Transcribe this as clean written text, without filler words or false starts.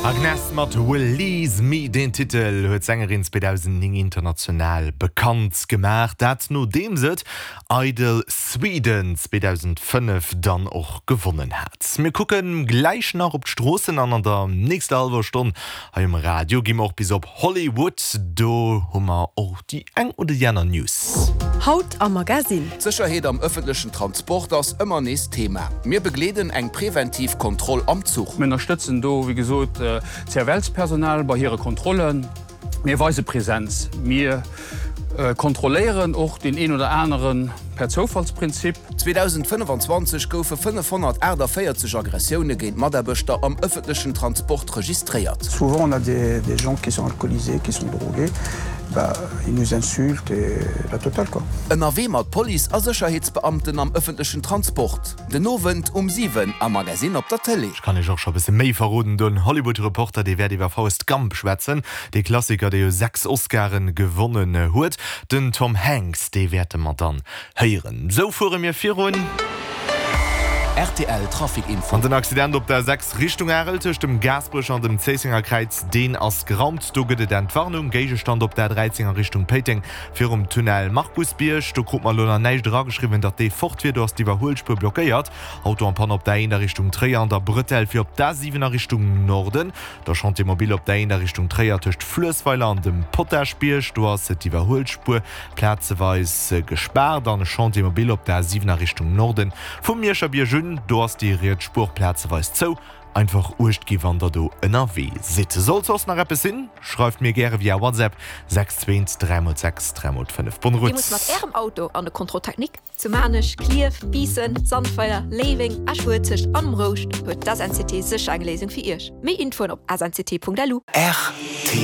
Agnes mat Release Me, deen Titel huet d'Sängerin 2009 international bekannt gemaach, dat nodeems et Idol Sweden 2005 dann och gewonnen hat. Mir kucke gläich nach op d'Stroossen an an der nächster hallwer Stonn hei um Radio gi mer och bis op Hollywood. Do hu mer och déi eng oder déi aner News. Haut am Magasinn. D'Sécherheet am ëffentlechen Transport ass ëmmer nees Thema. Mir begleeden eng preventiv Kontroll am Zuch. Mir ënnerstëtzen do, wéi gesot, d'CFL-Personal bei hire Kontrollen. Mir weise Präsenz. Mir kontrolléieren och deen een oder anere per Zoufallsprinzip. 2025 goufe 548 Aggressioune géint Mataarbechter am ëffentlechen Transport registréiert. Souvent on a des des gens qui sont alcoolisés, qui sont drogués, bah ils nous insultent et la totale quoi. Ënnerwee mat Police a Sécherheetsbeamten am ëffentlechen Transport, den Owend um 7 am Magasinn op der Tëlee. Ech kann iech och scho bësse méi verroden, Den Hollywood Reporter, dee wäert iwwer Forrest Gump schwätzen, dee Klassiker, dee jo 6 Oscaren gewonnen huet. Den Tom Hanks, dee wäerte mer dann héieren. Sou fuere mir virun. Rtl Trafic Info. An den Accident op der 6 Richtung Arel tëscht dem Gaasperech an dem Zéissenger Kräiz, deen ass geraumt. Do gëtt et Entwarnung. Géigestand op der 13 a Richtung Péiteng virum Tunnel Markusbierg. Do krut mer elo nach näischt erageschriwwen, datt dee fort wier. Do ass d'Iwwerhuelspuer blockéiert. Auto en panne op der 1 a Richtung Tréier an der Bretelle fir op d'A7 a Richtung Norden. Der Chantier mobile op der 1 a Richtung Tréier tëscht Fluessweiler an dem Potaschbierg. Do ass d'Iwwerhuelspuer plazeweis gespaart an e Chantier mobile op der A7 a Richtung Norden vum Mierscherbierg un. Do ass déi riets Spuer plazeweis zou. Einfach uecht gi wann der do ënnerwee sidd. Sollt soss nach eppes sinn, schreift mir gäre via WhatsApp 6 2 3 x 6 3 x 5. Bonne Dir musst mat route! Ärem Auto an de Contrôle technique? Zu Maarnech, Klierf, Biissen, Sandweiler, Léiweng, Esch-Uelzecht an um Rouscht huet d'SNCT sécher eng Léisung fir Iech. Méi Infoen op snct.lu. RTL.